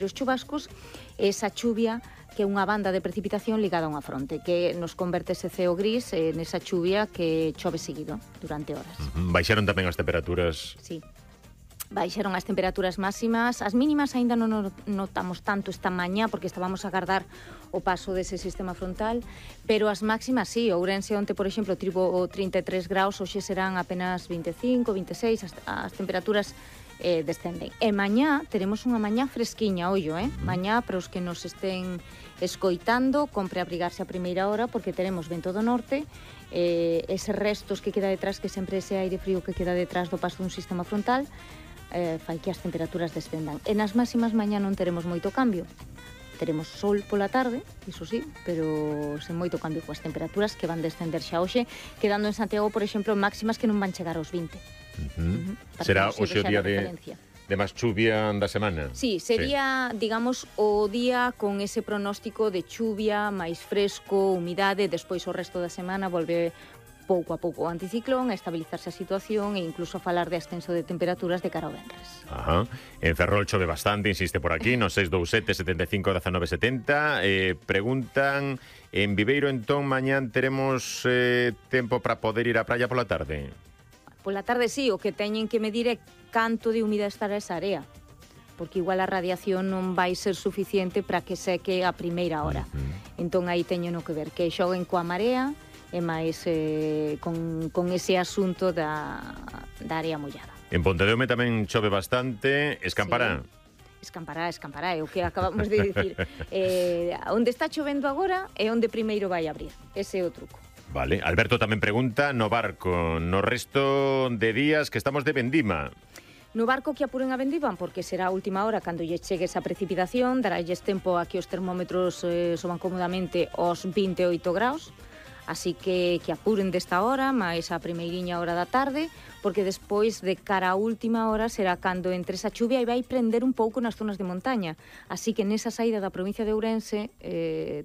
Os chubascos é esa chuvia que é unha banda de precipitación ligada a unha fronte que nos converte ese ceo gris nesa chuvia que chove seguido durante horas. Baixaron tamén as temperaturas? Sí. Baixaron as temperaturas máximas. As mínimas aínda non notamos tanto esta mañá porque estábamos a agardar o paso dese sistema frontal, pero as máximas sí. Ourense onte, por exemplo, tivo 33 graus, hoxe serán apenas 25, 26, as temperaturas descenden. E mañá teremos unha mañá fresquiña, ollo, mañá para os que nos estén escoitando, compre abrigarse a primeira hora porque teremos vento do norte, eses restos que queda detrás, que sempre ese aire frío que queda detrás do paso dun sistema frontal, fai que as temperaturas descendan. E nas máximas mañá non teremos moito cambio. Teremos sol pola tarde, iso sí, pero sen moito cambio coas temperaturas que van descender xa hoxe, quedando en Santiago, por exemplo, máximas que non van chegar aos 20. Será hoxe o día de máis chuvia da semana? Sí, sería, digamos, o día con ese pronóstico de chuvia, máis fresco, humidade, despois o resto da semana volve pouco a pouco o anticiclón, a estabilizarse a situación e incluso a falar de ascenso de temperaturas de cara ao venres. En Ferrol chove bastante, insiste por aquí, no 627 75 19 70. Preguntan, en Viveiro entón mañán teremos tempo para poder ir á praia pola tarde? Pola tarde sí, o que teñen que medir é canto de humidade estará esa área, porque igual a radiación non vai ser suficiente para que seque a primeira hora. Entón aí teñen que ver, que xoguen coa marea e máis con ese asunto da área mollada. En Pontedeume tamén chove bastante, escampará? Sí. Escampará, é o que acabamos de dicir. Onde está chovendo agora é onde primeiro vai abrir, ese é o truco. Vale, Alberto tamén pregunta no barco, no resto de días que estamos de vendima. No barco que apuren a vendivan, porque será a última hora cando lle chegue esa precipitación, daralles tempo a que os termómetros soban cómodamente aos 28 graus, así que apuren desta hora, máis a primeiriña hora da tarde, porque despois de cara a última hora será cando entre esa chuvia e vai prender un pouco nas zonas de montaña. Así que nesa saída da provincia de Ourense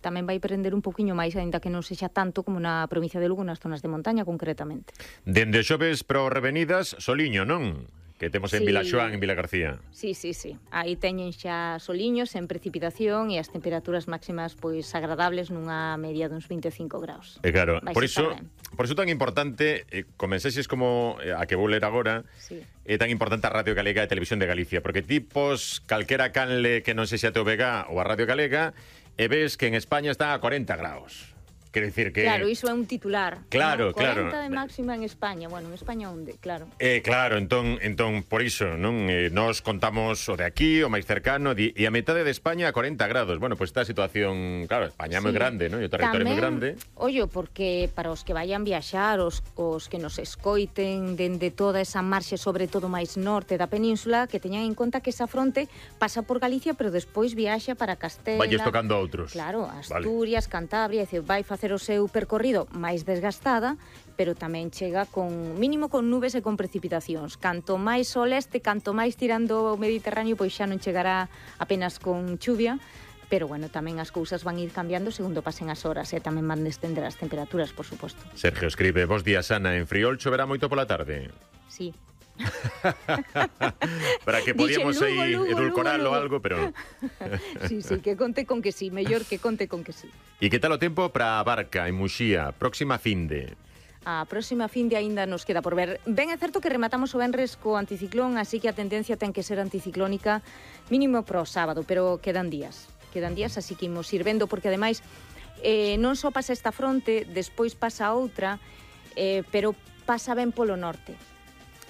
tamén vai prender un pouquiño máis, aínda que non sexa tanto como na provincia de Lugo, nas zonas de montaña concretamente. Dende xoves para Revenidas, soliño, non? Que temos en Vilaxoán, en Vilagarcía. Sí. Aí teñen xa soliños en precipitación e as temperaturas máximas pois agradables nunha media duns 25 graus. E claro, por iso tan importante, comenzeixes como a que vou ler agora, é tan importante a Radio Galega e a Televisión de Galicia, porque tipos calquera canle que non sexa TVG ou a Radio Galega e ves que en España está a 40 graus. Quero dicir que... Claro, iso é un titular. Claro, 40 de máxima en España. Bueno, en España onde, claro. Claro, entón, por iso, non? Nos contamos o de aquí, o máis cercano, e a metade de España a 40 grados. Bueno, pois está a situación... Claro, España é moi grande, non? E o territorio é moi grande. Ollo, porque para os que vayan viaxar, os que nos escoiten dende toda esa marxe, sobre todo máis norte da península, que teñan en conta que esa fronte pasa por Galicia, pero despois viaxa para Castela. Vai tocando a outros. Claro, Asturias, Cantabria, vai facer o seu percorrido máis desgastada, pero tamén chega con mínimo con nubes e con precipitacións. Canto máis ao leste, canto máis tirando o Mediterráneo, pois xa non chegará apenas con chuvia, pero bueno, tamén as cousas van ir cambiando segundo pasen as horas e tamén van descender as temperaturas, por suposto. Sergio escribe, bos días, Ana, en Friol choverá moito pola tarde? Sí. Para que podíamos aí edulcoralo algo, pero... Sí, que conte con que sí, mellor que conte con que sí. E que tal o tempo para a Barca, en Muxía, próxima finde? A próxima finde aínda nos queda por ver. Ben é certo que rematamos o venres co anticiclón, así que a tendencia ten que ser anticiclónica mínimo pro sábado, pero quedan días, así que imos ir vendo, porque ademais non só pasa esta fronte, despois pasa outra, pero pasa ben polo norte.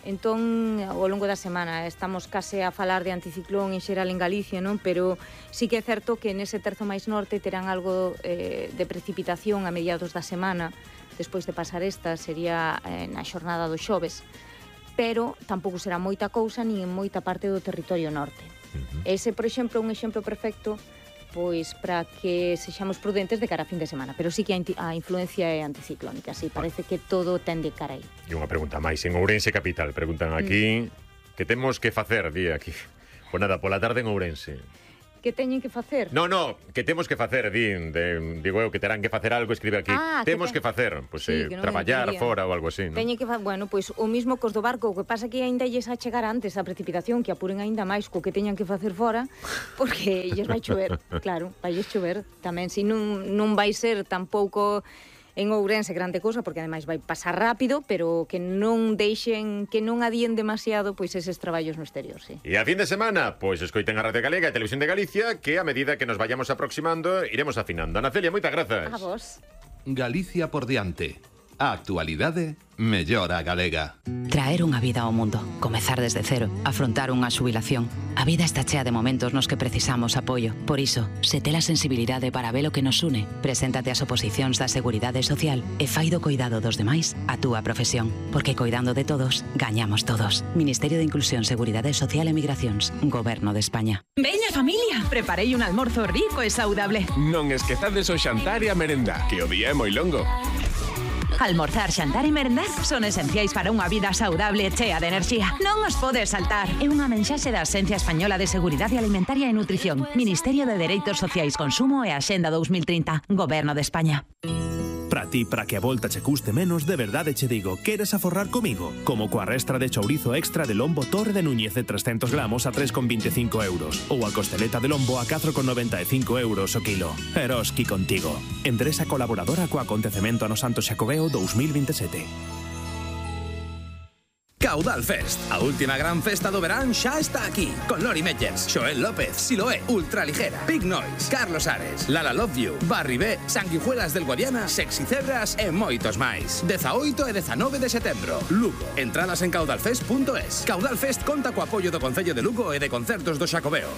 Entón, ao longo da semana estamos case a falar de anticiclón en xeral en Galicia, non? Pero sí que é certo que nese terzo máis norte terán algo de precipitación a mediados da semana, despois de pasar esta, sería na xornada do xoves, pero tampouco será moita cousa nin en moita parte do territorio norte. Ese, por exemplo, un exemplo perfecto pois para que sexamos prudentes de cara a fin de semana, pero sí que a influencia é anticiclónica, así parece que todo tende cara aí. E unha pregunta máis, en Ourense capital, preguntan aquí, que temos que facer, di aquí? Pois nada, pola tarde en Ourense. Que teñen que facer? No, que temos que facer, digo eu, que terán que facer algo, escribe aquí. Temos que facer, pois traballar fora ou algo así, non? Teñen que bueno, pois o mismo cos do barco, o que pasa que aínda lles a chegar antes a precipitación, que apuren aínda máis co que teñan que facer fora, porque lles vai chover, claro, vai chover tamén, si non vai ser tampouco en Ourense grande cousa, porque ademais vai pasar rápido, pero que non deixen, que non adíen demasiado pois eses traballos no exterior, sí. E a fin de semana, pois escoiten a Radio Galega e a Televisión de Galicia, que a medida que nos vayamos aproximando, iremos afinando. Ana Celia, moitas grazas. A vos. Galicia por diante. A actualidade mellora a galega. Traer unha vida ao mundo, comezar desde cero, afrontar unha xubilación. A vida está chea de momentos nos que precisamos apoio. Por iso, se tes a sensibilidade para ver o que nos une, preséntate ás oposicións da Seguridade Social e fai do coidado dos demais a túa profesión. Porque coidando de todos, gañamos todos. Ministerio de Inclusión, Seguridade Social e Migracións. Goberno de España. Veña familia, preparei un almorzo rico e saudable. Non esquezades o xantar e a merenda, que o día é moi longo. Almorzar, xantar e merendar son esenciais para unha vida saudable e chea de enerxía. Non os podes saltar. É unha mensaxe da Axencia Española de Seguridade Alimentaria e Nutrición, Ministerio de Dereitos Sociais, Consumo e Axenda 2030, Goberno de España. Para ti, para que a volta che custe menos, de verdade che digo, queres aforrar comigo? Como coa restra de chourizo extra de lombo Torre de Núñez de 300 gramos a 3,25 euros ou a costeleta de lombo a 4,95 euros o kilo. Eroski contigo. Endresa colaboradora co acontecemento no Santo Xacobeo 2027. Caudal Fest, a última gran festa do verán xa está aquí, con Lori Meyers, Xoel López, Siloé, Ultraligera, Big Noise, Carlos Ares, Lala Love You, Barry B, Sanguijuelas del Guadiana, Sexy Cebras e moitos máis. 18 e 19 de setembro, Lugo. Entradas en caudalfest.es. Caudal Fest conta co apoio do Concello de Lugo e de Concertos do Xacobeo.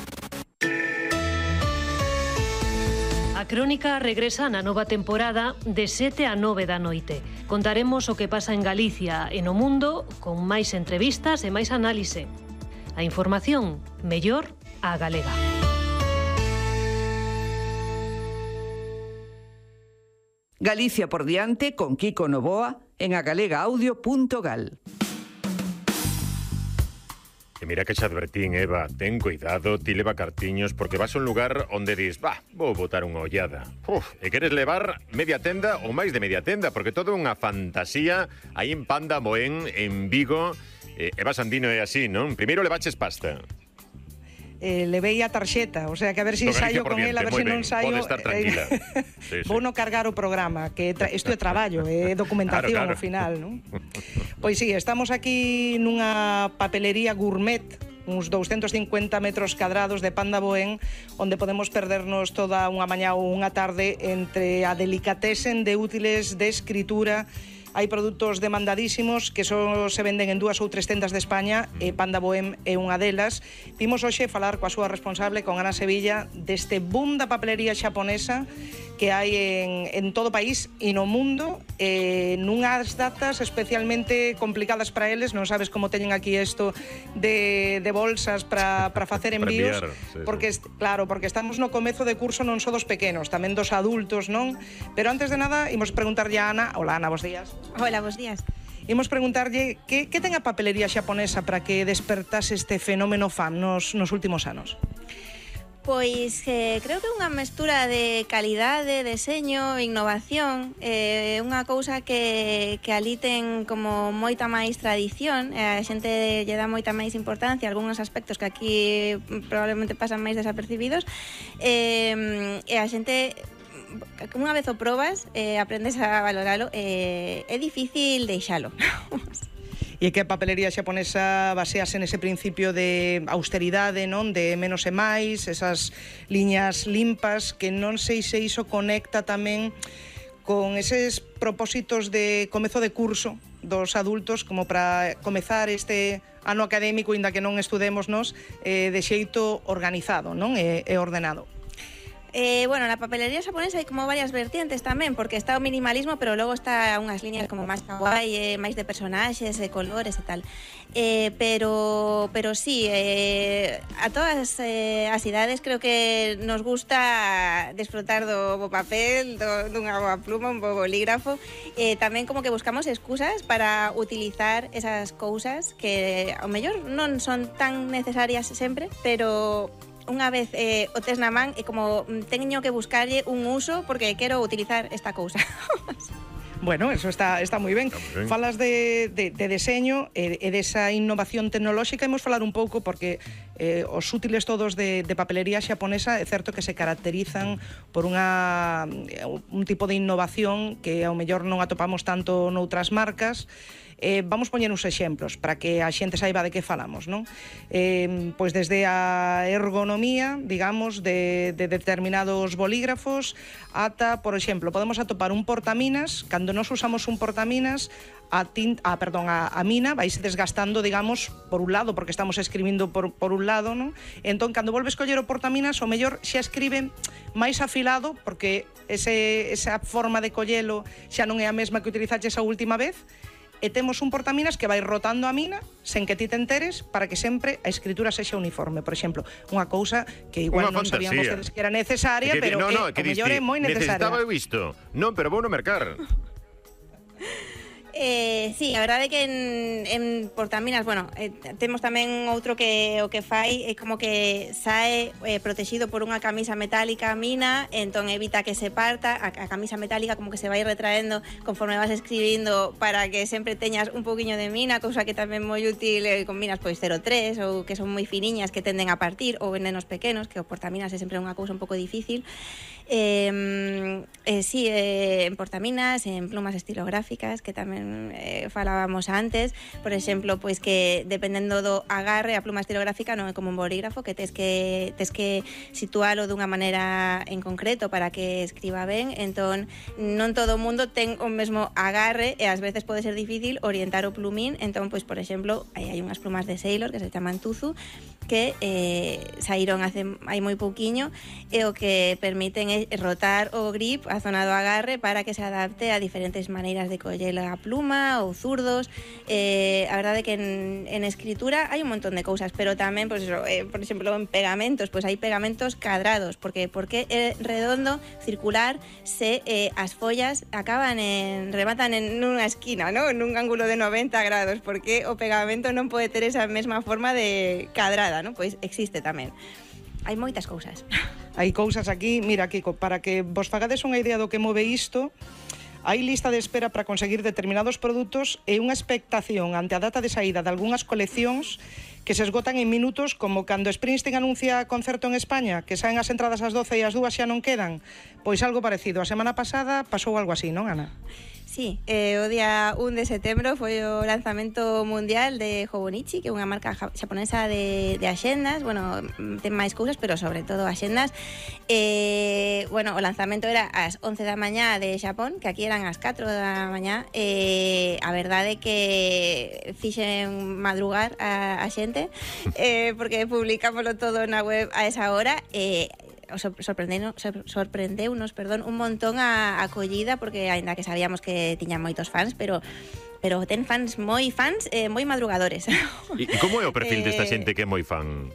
A Crónica regresa na nova temporada de 7 a 9 da noite. Contaremos o que pasa en Galicia e no mundo con máis entrevistas e máis análise. A información mellor á galega. Galicia por diante con Kiko Novoa en agalegaudio.gal. E mira que xa advertín, Eva, ten cuidado, ti leva cartiños, porque vas a un lugar onde dis, vou botar unha ollada. E queres levar media tenda ou máis de media tenda, porque todo é unha fantasía aí en Panda Moén, en Vigo. Eva Sandino é así, non? Primeiro levaches pasta. Levei a tarxeta, o sea que a ver se saio con el, a ver se non saio. Pode estar tranquila. Vou non cargar o programa, que isto é traballo, é documentación ao final, non? Pois sí, estamos aquí nunha papelería gourmet, uns 250 metros cadrados de Panda Boén, onde podemos perdernos toda unha mañá ou unha tarde entre a delicatessen de útiles de escritura. Hai produtos demandadísimos que só se venden en 2 ou 3 tendas de España e Panda Bohem é unha delas. Vimos hoxe falar coa súa responsable, con Ana Sevilla, deste boom da papelería xaponesa que hai en todo o país e no mundo, nunhas datas especialmente complicadas para eles. Non sabes como teñen aquí isto de bolsas para facer envíos, porque claro, porque estamos no comezo de curso non só dos pequenos, tamén dos adultos, non? Pero antes de nada, imos preguntarlle a Ana. Hola, Ana, bos días. Hola, bos días. Imos preguntarlle que ten a papelería xaponesa para que despertase este fenómeno fan nos últimos anos. Pois creo que é unha mestura de calidade, deseño, innovación, unha cousa que ali ten como moita máis tradición, a xente lle dá moita máis importancia a algúns aspectos que aquí probablemente pasan máis desapercibidos, e a xente, unha vez o probas, aprendes a valoralo, é difícil deixalo. E que a papelería xaponesa basease nese principio de austeridade, non? De menos e máis, esas liñas limpas, que non sei se iso conecta tamén con eses propósitos de comezo de curso dos adultos, como para comezar este ano académico, inda que non estudémonos, de xeito organizado, non? E ordenado. Bueno, na papelería xaponesa hai como varias vertientes tamén, porque está o minimalismo, pero logo está unhas liñas como máis kawaii, máis de personaxes, de colores e tal. Pero sí, a todas as idades creo que nos gusta desfrutar do papel, dunha boa pluma, un bo bolígrafo. Tamén como que buscamos excusas para utilizar esas cousas que ao mellor non son tan necesarias sempre, pero unha vez o tes na man, é como teño que buscarlle un uso porque quero utilizar esta cousa. Bueno, eso está moi ben. Falas de deseño e desa innovación tecnolóxica. Imos falar un pouco porque os útiles todos de papelería xaponesa é certo que se caracterizan por un tipo de innovación que ao mellor non atopamos tanto noutras marcas. Vamos poñer uns exemplos para que a xente saiba de que falamos, non? Pois desde a ergonomía, digamos, de determinados bolígrafos ata, por exemplo, podemos atopar un portaminas. Cando nos usamos un portaminas, a mina vaise desgastando, digamos, por un lado, porque estamos escribindo por un lado, non? Entón, cando volves coller o portaminas, o mellor xa escribe máis afilado, porque esa forma de collelo xa non é a mesma que utilizaches a última vez, e temos un portaminas que vai rotando a mina sen que ti te enteres para que sempre a escritura sexa uniforme. Por exemplo, unha cousa que igual non sabían vostedes que era necesaria, pero o mellor é moi necesaria. Necesitaba eu isto. Non, pero vou no mercar. Sí, a verdade é que en portaminas, bueno, temos tamén outro que o que fai é como que sae protegido por unha camisa metálica a mina, entón evita que se parta, a camisa metálica como que se vai retraendo conforme vas escribindo para que sempre teñas un pouquiño de mina, cousa que tamén moi útil con minas pois 0,3 ou que son moi finiñas que tenden a partir, ou venenos pequenos, que o portaminas é sempre unha cousa un pouco difícil. Sí, en portaminas, en plumas estilográficas que tamén falábamos antes, por exemplo, pois que dependendo do agarre, a pluma estilográfica non é como un bolígrafo que tes que situalo dunha maneira en concreto para que escriba ben, entón non todo o mundo ten o mesmo agarre e ás veces pode ser difícil orientar o plumín, entón pois por exemplo, hai unhas plumas de Sailor que se chaman Tuzu que saíron hai moi pouquiño e o que permiten é rotar o grip, a zona do agarre para que se adapte a diferentes maneiras de coller a pluma ou zurdos. A verdade é que en escritura hai un montón de cousas, pero tamén, pues eso, por exemplo, en pegamentos, pues hai pegamentos cadrados, porque é redondo, circular, se as follas rematan en unha esquina, ¿no? En un ángulo de 90 grados, porque o pegamento non pode ter esa mesma forma de cadrada, ¿no? Pois existe tamén. Hai moitas cousas. Hai cousas aquí, mira, Kiko, para que vos fagades unha idea do que move isto. Hai lista de espera para conseguir determinados produtos e unha expectación ante a data de saída de algunhas coleccións que se esgotan en minutos, como cando Springsteen anuncia concerto en España, que saen as entradas ás 12 e as 2 xa non quedan. Pois algo parecido. A semana pasada pasou algo así, non, Ana? Sí, o día 1 de setembro foi o lanzamento mundial de Hobonichi, que é unha marca xaponesa de axendas, bueno, ten máis cousas, pero sobre todo axendas. Bueno, o lanzamento era ás 11 da mañá de Xapón, que aquí eran ás 4 da mañá. A verdade é que fixen madrugar a xente, porque publicámoslo todo na web a esa hora, sorprendeunos, un montón a acollida, porque aínda que sabíamos que tiñan moitos fans, pero ten fans moi madrugadores. E como é o perfil desta xente que é moi fan?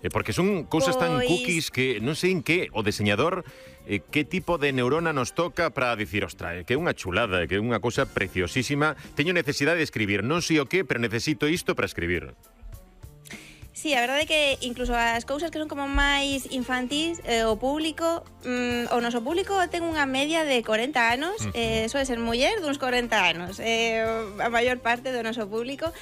Porque son cousas tan cookies que non sei en que o deseñador que tipo de neurona nos toca para dicir, ostra, que é unha chulada, que é unha cousa preciosísima, teño necesidade de escribir, non sei o que, pero necesito isto para escribir. Sí, a verdade é que incluso as cousas que son como máis infantís, o público, o noso público ten unha media de 40 anos, soe ser muller duns 40 anos, a maior parte do noso público.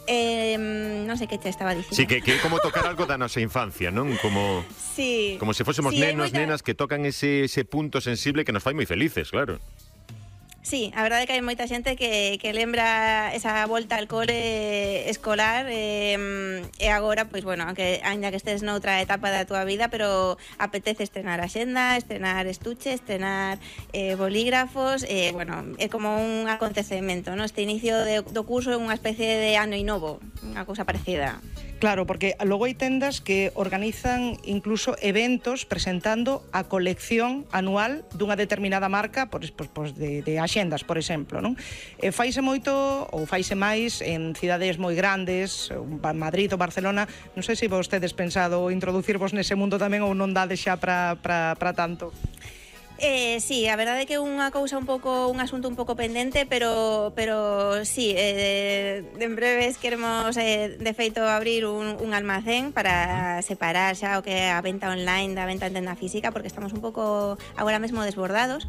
Non sei que te estaba dicindo. Sí, que é como tocar algo da nosa infancia, non? Como se fósemos nenos, nenas que tocan ese punto sensible que nos fai moi felices, claro. Sí, a verdade é que hai moita xente que lembra esa volta al cole escolar e agora, pois, bueno, aínda que estés noutra etapa da tua vida, pero apetece estrenar axenda, estrenar estuche, estrenar bolígrafos, bueno, é como un acontecemento, ¿no? Este inicio do curso é unha especie de ano novo, unha cousa parecida. Claro, porque logo hai tendas que organizan incluso eventos presentando a colección anual dunha determinada marca, de axendas, por exemplo, non? Faise moito ou faise máis en cidades moi grandes, Madrid ou Barcelona. Non sei se vostedes pensado introducirvos nese mundo tamén ou non dade xa para tanto. Sí, a verdade é que é unha cousa un asunto un pouco pendente, pero sí, en breves queremos de feito abrir un almacén para separar xa o que é a venta online da venta en tenda física, porque estamos un pouco agora mesmo desbordados.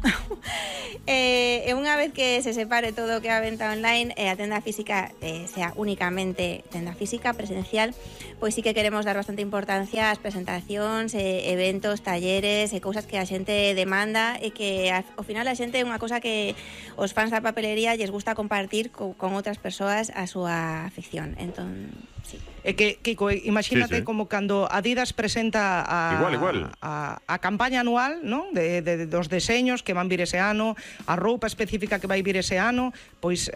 E unha vez que se separe todo o que é a venta online e a tenda física sea únicamente tenda física presencial, pois sí que queremos dar bastante importancia ás presentacións, eventos, talleres e cousas que a xente demanda e que ao final a xente é unha cosa que os fans da papelería lles gusta compartir con outras persoas a súa afección. Entón, sí. É que, Kiko, imagínate como cando Adidas presenta a campaña anual, ¿no? de dos deseños que van vir ese ano, a roupa específica que vai vir ese ano, pois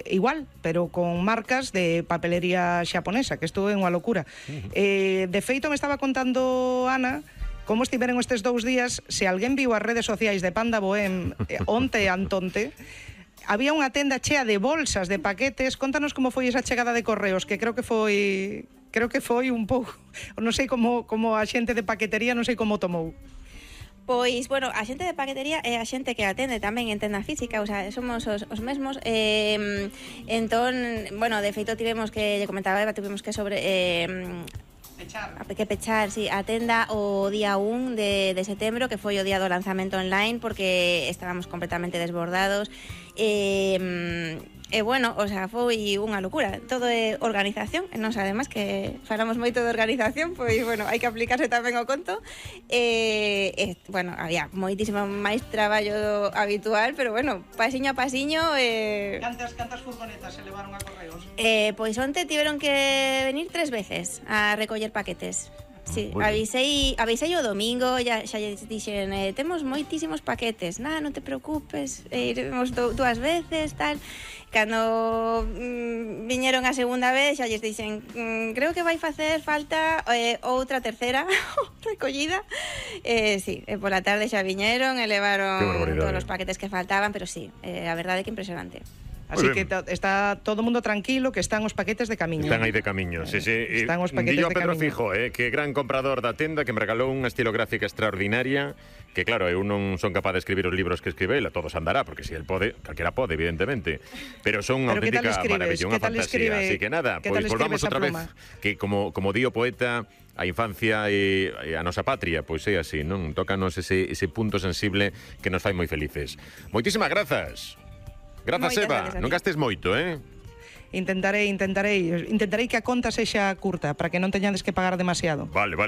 igual, pero con marcas de papelería xaponesa, que isto é unha locura. De feito, me estaba contando Ana como estiveron estes 2 días. Se alguén viu as redes sociais de Panda Bohem onte e antonte, había unha tenda chea de bolsas, de paquetes. Contanos como foi esa chegada de correos, que creo que foi un pouco, non sei como a xente de paquetería, non sei como tomou. Pois, bueno, a xente de paquetería é a xente que atende tamén en tenda física, o sea, somos os mesmos. Entón, bueno, de feito tivemos que, lle comentaba Eva, tivemos que pechar, sí, a tenda o día 1 de setembro, que foi o día do lanzamento online, porque estábamos completamente desbordados. E bueno, o sea, foi unha locura. Todo é organización, e nós además que falamos moito de organización, pois bueno, hai que aplicarse tamén ao conto. Bueno, había moitísimo máis traballo habitual, pero bueno, pasiño a pasiño. Cantas furgonetas se levaron a correos? Pois onte tiveron que venir 3 veces a recoller paquetes. Sí, avisei o domingo, xa lle dixen, temos moitísimos paquetes, non te preocupes, iremos 2 veces, tal. Cando viñeron a segunda vez, xa lles dixen, creo que vai facer falta outra terceira recollida. Sí, pola tarde xa viñeron e levaron todos os paquetes que faltaban, pero sí, a verdade é que impresionante. Así que está todo o mundo tranquilo, que están os paquetes de camiño. Están aí de camiño, sí. Están os paquetes Dillo de Pedro camiño. Fijo, que gran comprador da tenda, que me regalou unha estilográfica extraordinaria, que claro, eu non son capaz de escribir os libros que escribe ela, todos andará, porque si el pode, calquera pode, evidentemente, pero son unha auténtica maravilla, unha fantasía. Así que nada, pois volvamos outra vez, que como di o poeta, a infancia e a nosa patria, pois é así, non? Tócanos ese punto sensible que nos fai moi felices. Moitísimas grazas. Grazas, Eva. Non gastes moito, Intentarei que a conta sexa curta, para que non teñades que pagar demasiado. Vale.